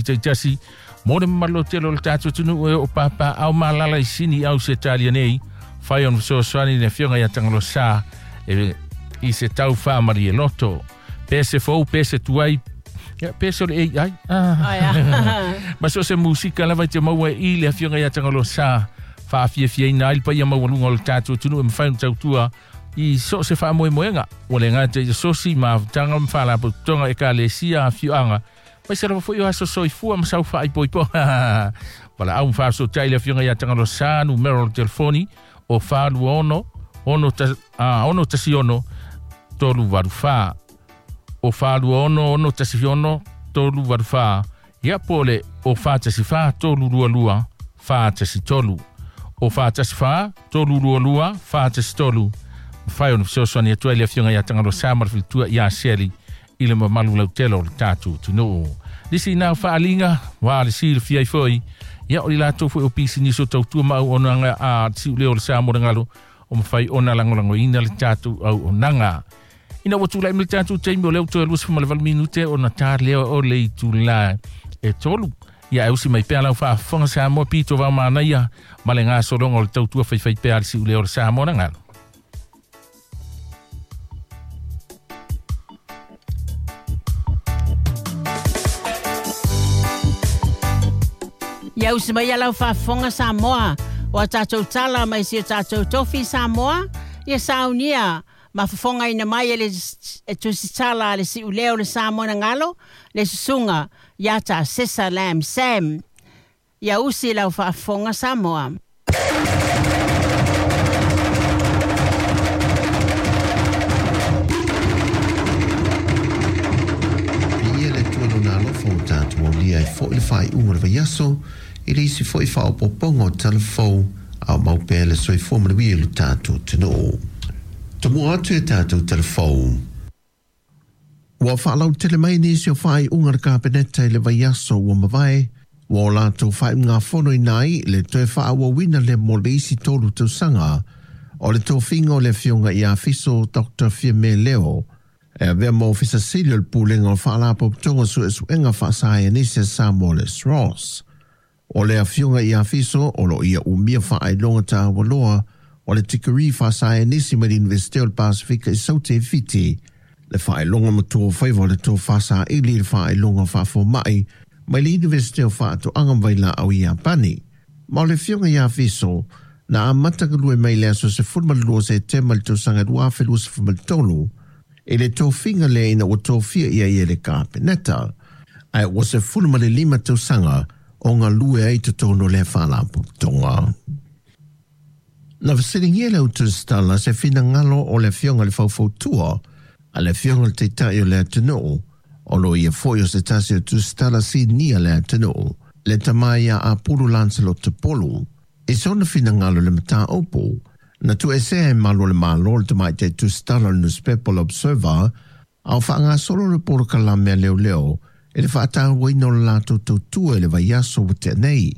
Taitasi mo le mamalu tele o le tatou atunuu e oo papaao ma alaala i Sini Ausetalia nei, fai ona fesoasoani i le Afioga ia Tagaloasa e i se tau faamalie loto. Pe se fou, pe se tuai, ia, pe se o le AI. Ah. Ma so se musika lava i te maua i le Afioga ia Tagaloasa faafiafiaina ai le paia maualuga o le tatou atunuu e mafai ona tautua i so o se faamoemoega. Ua le gata i asosi ma avetaga ma faalapotopotoga ekalesia afioaga aemaise lava foi o aso soifua ma sau faaipoipo. Valaau ma faafesootai le Afioga ia Tagaloasa, numera o le telefoni o 426 616 384. O 426 616 384. Ia po o le o 414 322 413. O 414 322 413. Mafai ona fesoasoani atu ai le Afioga ia Tagaloasa ma le faletua ia Seli i le mamalu lautele o le tatou atunuu. Nisi nā faaliga, wa le silafia ai foi, ia o i latou foi o pisinisi o tautua ma auaunaga a siuleo o le Samoa le galo, o mafai ona lagolagoina le tatou auaunaga. Ina ua tulai mai le tatou taimi o lea ua toe 28 minute ona ta lea o le itula e 3. Ia e usi mai pea lau faafofoga Samoa pito vao manaia ma le gasologa o le tautua faifaipea a le siuleo o le Samoa na galo. Ia usi mai lau faafofoga Samoa, o a tatou tala mai si o tatou tofi Samoa, ia saunia ma fofogaina mai e le e tusitala a le siuleo le Samoa na galo, le susuga ia ta Sesa Lam Sam. Ia usi lau faafofoga Samoa. Viia le Atua i Lona alofa ua tatou aulia ai foi le faaiuga o le vaiaso i le isi foi faaopoopoga o tala fou a o mau pea le soifua manuia i lo tatou atunuu. Tomua atu i a tatou tala fou. Ua faalautele mai nisi o faaiuga a le Kapeneta i le vaiaso ua mavae, ua o latou faaiugafonoina ai le toe faaauauina lea mo le isi 3 tausaga o le tofiga o le Afioga ia Fiso Dr. Fiame Leo e avea ma Ofisa Sili o le Pulega o Faalapotopotoga Suesuega Faasaienisi a Samoa le SROS. O le Afioga ia Fiso o lo o ia umia faailoga taua loa o le tikeri faasaienisi mai le Iunivesite o le Pasefika i Saute i Fiti, le faailoga matua o faiva o le tofa saili i le faailoga faafoma'i mai le Iunivesite o Faatoaga ma Vailaau i Iapani. Ma o le Afioga ia Fiso na amata galue mai i le aso 12 Setema i le tausaga 2023 i le tofiga lea ina ua tofia ia ia e le Kapeneta, ae ua 15 tausaga o galue ai i totonu o lea faalapotopotoga. Na fesiligia le Autusitala se finagalo o le Afioga i le Faufautua a le Afioga i le Taitai o le atunuu, o lo o ia foi o se tasi o Tusitala sinia le atunuu, le tama ia Apulu Lancelot Tupolu, i sona finagalo i le mataupu. Na tuuesea e malu o le Malo le tamaitai Tusitala o le nusipepa o le Observer, a o faagasolo le polokalame a leoleo i le faatauaina o le latou tautua i le vaiaso ua tea nei.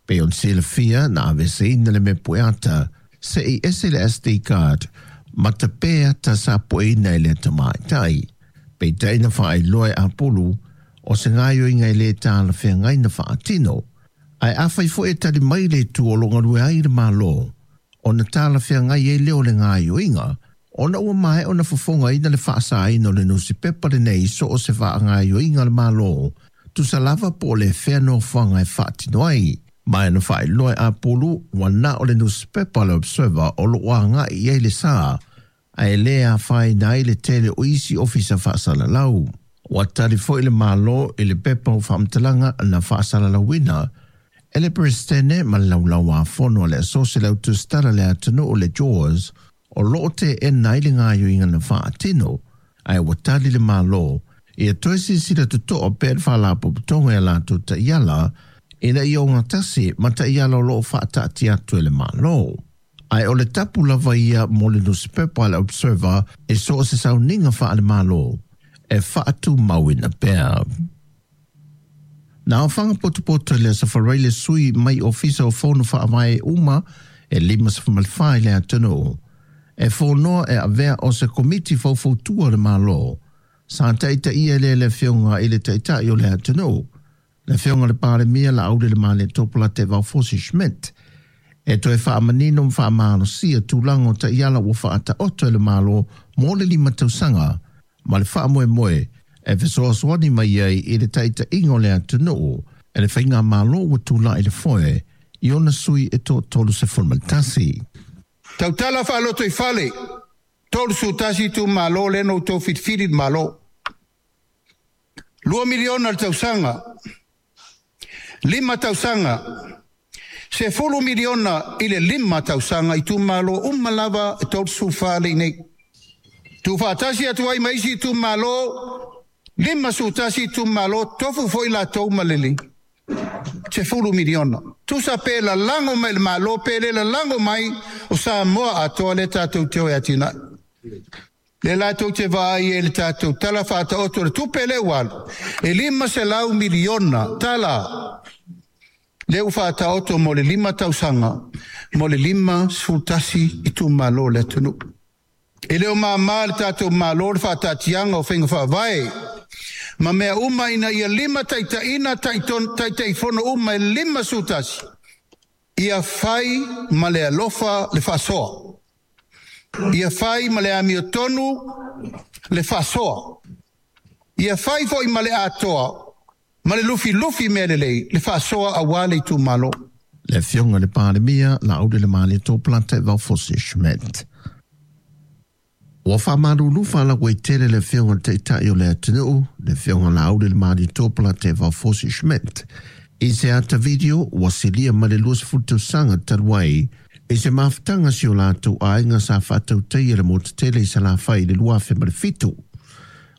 Pei ona silafia, na aveeseina le mea pueata se i ese le SD card ma tape ata sa pueina e lea tamaitai. Peitai na faailoa e Apulu, o se gaoioiga e lē talafeagai na faatino. Ae afai foi e tali mai le itu o lo o galue ai le Malo, ona talafeagai ai lea o le gaoioiga, ona ua maea ona fofogaina le faasaina o le nusipepa lenei i so o se faagaoioiga a le Malo, tusa lava po o le fea nofoaga e faatino ai. Ma e na faailoa e Apulu, ua na o le nusipepa a le Observer o lo o agai i ai le sa, ae le afaina ai le tele o isi ofisa faasalalau. Ua tali foi le Malo i le pepa o faamatalaga na faasalalauina e le Peresetene ma le Laulau-a-Fono a le Asosi le Autusitala le Atunuu le JAWS o lo o teena ai le gaoioiga na faatino, ae ua tali le Malo ia toe silasila totoa pea le Faalapotopotoga i a latou taiala ina ia ogatasi ma taiala o lo o faataatia atu e le Malo. Ae o le tapu lava ia mo le nusipepa a le Observer i so o se sauniga faale-Malo e faatumauina pea. Na aofaga potopoto i le Aso Faraile le sui mai Ofisa o Fono Faavae uma e 54 i le atunuu e fonoa e avea o se Komiti Faufautua o le Malo sa taitaia lea le Afioga i le Taitai o le atunuu. Le Afioga le Palemia Laaulialemalietoa Polataivao Fosi Schmidt e toe faamanino ma faamalosia tulaga o taiala ua faataoto e le Malo mo le 5 tausaga ma le faamoemoe e fesoasoani mai ai i le taitaiga o le atunuu e le faigamalo ua tula'i le foe i ona sui e 31. Tautala faaloto i fale, 31 itumalo lea na outou filifili i le Malo. 2 miliona le tausaga, 5 tausaga, 10 miliona i le 5 tausaga itumalo uma lava e 34 le i nei. Tuufaatasi atu ai ma isi itumalo, 51 itumalo, tofu foi latou ma le 10 miliona. Tusa pe lalago mai le Malo, pe le lalago mai o Samoa atoa le tatou te o e atinae. Le latou te vaai e le tatou tala faataoto le tupe le ua alu, e 500 miliona tala le ua faataoto mo le 5 tausaga, mo le 51 itumalo le atunuu. E le o māmā le tatou Malo le faataatiaga o faiga faavae ma mea uma ina ia lima taitaiina taitaifono uma e 51, ia fai ma le alofa le faasoa. Ia fai ma le amiotonu le faasoa. Ia fai foi ma le atoa, ma le lufilufi mea lelei, le faasoa auā le itumalo. Le Afioga le Palemia Laaulialemalietoa Polataivao Fosi Schmidt. Ua faamalulu faalautele le Afioga le Taitai o le atunuu, le Afioga Laaulialemalietoa Polataivao Fosi Schmidt, i se ata video ua silia ma le 20 tausaga talu ai i se mafutaga si o latou aiga sa faatautaia le motu tele i Salafai i le 2007.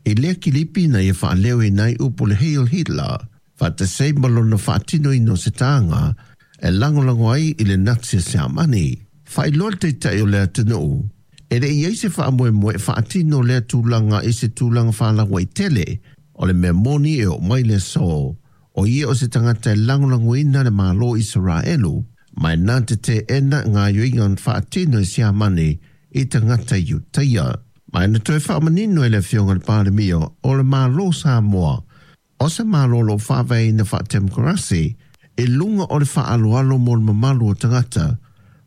I lea kilipi na ia faaleo i nai upu le Heil Hitler, faatasei ma lona faatinoina o se taga e lagolago ai i le Natsi a Siamani. Faailoa le Taitai o le atunuu, e le i ai se faamoemoe e faatino lea tulaga i se tulaga faalauaitele. O le mea moni e oo mai le aso, o ia o se tagata e lagolagoina le Malo Isaraelu, ma e na te teena gaoioiga na faatino e Siamani i tagata Iutaia. Ma e na toe faamanino e le Afioga le Palemia o le Malo Samoa, o se Malo o loo faavaeina faatemokarasi i luga o le faaaloalo mo le mamalu o tagata,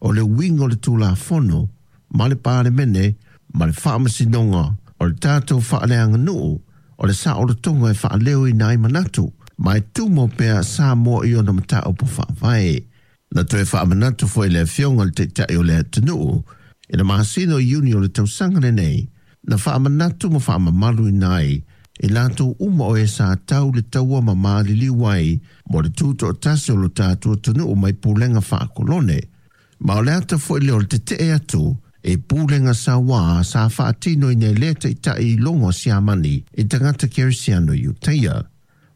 o le uiga o le Tulafono ma le Palemene ma le Faamasinoga o le tatou faaleaganuu, o le saolotoga e faaleoina ai manatu, ma e tumau pea Samoa i ona mataupu faavae. Na toe faamanatu foi le Afioga le Taitai o le atunuu i le masina o Iuni o le tausaga lenei, na faamanatu ma faamamaluina ai i latou uma o e sa tau le taua ma maliliu ai mo le tutoatasi o lo tatou atunuu mai pulega faakolone. Ma o le ata foi lea o le tetee atu e pulega sauā sa faatinoina e lea taitai i logo a Siamani i tagata kerisiano Iutaia.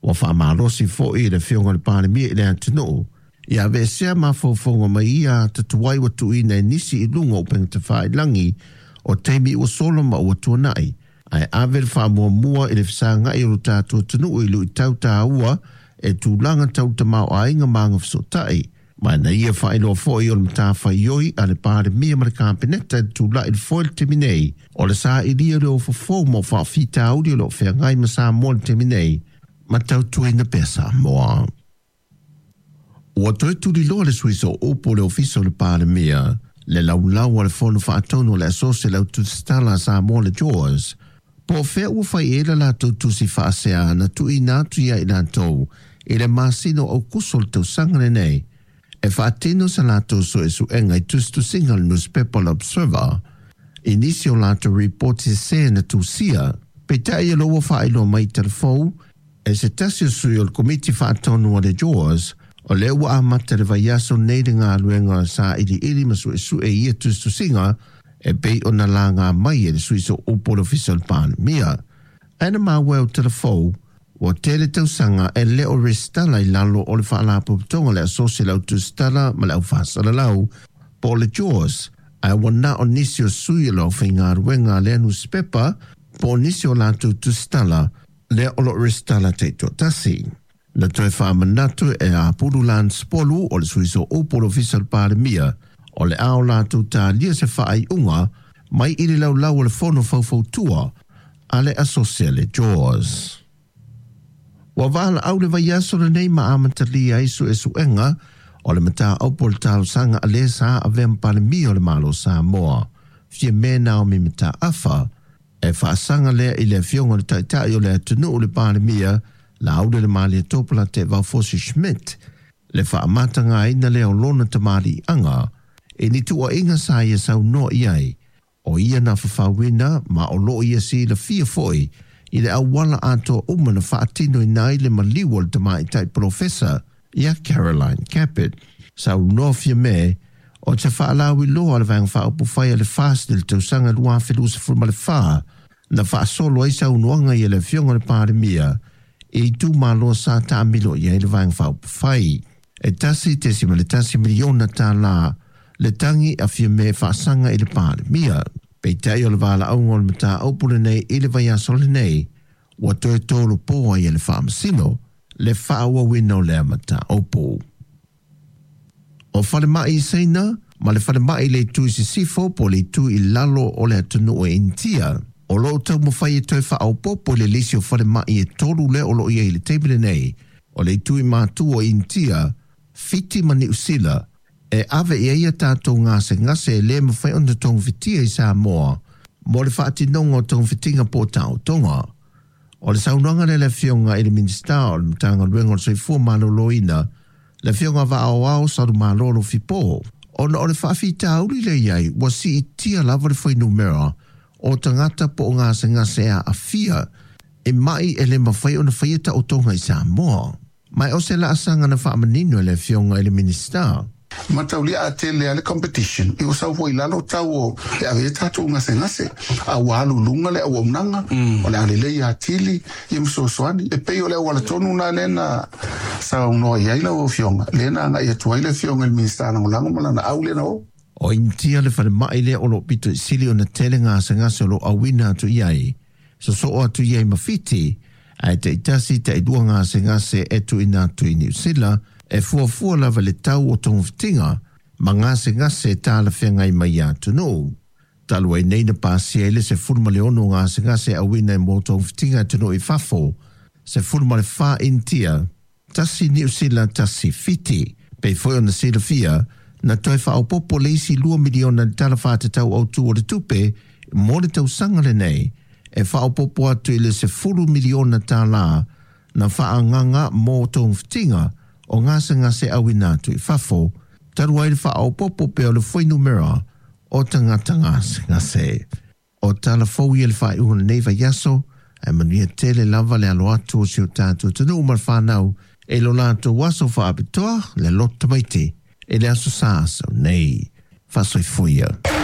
Ua faamalosi foi le Afioga le Palemia i le atunuu ia aveesea mafaufauga mai ia ata tuai ua tuuina e nisi i luga o upegatafailagi o taimi ua sola ma ua tuanai, ae ave le faamuamua i le fesagai o lo tatou atunuu i luitau taua e tulaga tau tamaoaiga ma agafesootai. Ma na ia faailoa foi o le matafaioi a le Palemia ma le Kapeneta i le tula'i le foe i le taimi nei, o le sailia o le ofofou ma o faafitauli o loo feagai ma Samoa i le taimi nei, ma tautuaina pea Samoa. Ua toe tuliloa le sui sooupu o le Ofisa o le Palemia, le laulau a le Fono Faatonu o le Asosi le Autusitala a Samoa le JAWS, po o fea ua fai i ai le latou tusi faasea na tuuina atu ia i latou i le masina o Aukuso o le tausaga lenei e faatino sa latou suesuega i tusitusiga o le nusipepa o le Observer i nisi o latou ripoti sesē na tusia. Peitai o lea ua faailoa mai i talafou e se tasi o sui o le Komiti Faatonu a le JAWS, o lea ua amata le vaiaso nei le galuega sailiili ma suesue i ia tusitusiga e pei ona laga mai e le sui sooupu o le Ofisa o le Palemia. Ae na maua e o talafou, ua tele tausaga e le o resitala i lalo o le Faalapotopotoga le Asosi le Autusitala ma le Aufaasalalau po o le JAWS, ae ua na o nisi o sui o le aufaigaluega a lea nusipepa po o nisi o latou tusitala lea o loo resitala taitoatasi. Na toe faamanatu e Apulu Lance Polu o le sui sooupu o le Ofisa o le Palemia, o le a o latou talia se faaiuga mai i le laulau o le Fono Faufautua a le Asosi a le JAWS. Ua valaau le vaiaso lenei ma amatalia ai suesuega o le mataupu o le talosaga a le sa avea ma Palemia o le Malo o Samoa, Fiame Naomi Mataafa, e faasaga lea i le afioga o le Taitai o le atunuu le Palemia Laaulialemalietoa Polataivao Fosi Schmidt, le faamatagaina lea o lona tamaliiaga i ni tuuaiga sa ia saunoa i ai, o ia na fafauina ma o loo ia silafia foi i le auala atoa uma na faatinoina ai le maliu o le tamaitai polofesa ia Caroline Capet. Saunoa Fiame o te faalauiloa a le Vaega Faaupufai a le FAST i le tausaga 2024 na faasolo ai saunoaga i le afioga i le Palemia i itumalo sa taamilo i ai le Vaega Faaupufai. E $1.1 miliona le tagi a Fiame faasaga i le Palemia. Peitai o le valaauga o le mataupu lenei i le vaiaso lenei, ua toe tolopo ai e le faamasino le faaauauina o lea mataupu. O falemai i Saina ma le falemai i le itu i sisifo po o le itu i lalo o le atunuu e Initia, o lo o taumafai e toe faaopoopo i le lisi o falemai e 3 lea o lo o i ai i le taimi lenei, o le itu i matu o Initia, Fiti ma Niu Sila, e ave i ai a tatou gasegase e le mafai ona togafitia i Samoa mo le faatinoga o togafitiga po o taotoga. O le saunoaga lea a le Afioga i le Minisita o le Matagaluega o le Soifua Maloloina, le Afioga Vaaoao Salumalolo Fipo, ona o le faafitauli lea i ai ua siitia lava le fuainumera o tagata po o gasegase e aafia i mai e le mafai ona faia taotoga i Samoa. Ma o se laasaga na faamanino e le Afioga i le Minisita. Mataulia a tele a le competition i o sau foi lalo tau o e ave tatou gasegase a ua alu luga le auaunaga o le a lelei atili ia ma fesoasoani e pei o le auala tonu na lea na saunoa i ai lau afioga lea na agai atu ai le afioga i le Minisita Lagolago ma lana au lea na o. O Initia le falemai lea o lo o pito i sili ona tele gasegase o lo o auina atu i ai, sosoo atu i ai ma Fiti, ae taitasi tailua gasegase e tuuina atu i Niu Sila, e fuafua lava le tau o togafitiga ma gasegase talafeagai mai ia atunuu. Talu ai nei na pasia ai le 16 o gasegase e auina e mo togafitiga atunuu i fafo, 14 Initia, 1 Niu Sila, 1 Fiti. Pei foi ona silafia, na toe faaopoopo le isi $2 miliona i le Tala Faatatau Autu o le Tupe mo le tausaga lenei, e faaopoopo atu i le $10 miliona na faaagaaga mo togafitiga o gasegase auina atu i fafo, talu ai le faaopoopo pea o le fuainumera o tagata gasegase. O tala fou ia le faaiuga o lenei vaiaso, ae manuia tele lava le alo atu o si o tatou atunuu ma le fanau e lo latou aso faapitoa le loto tamaiti i le aso Sa sau nei. Faasoifua ia.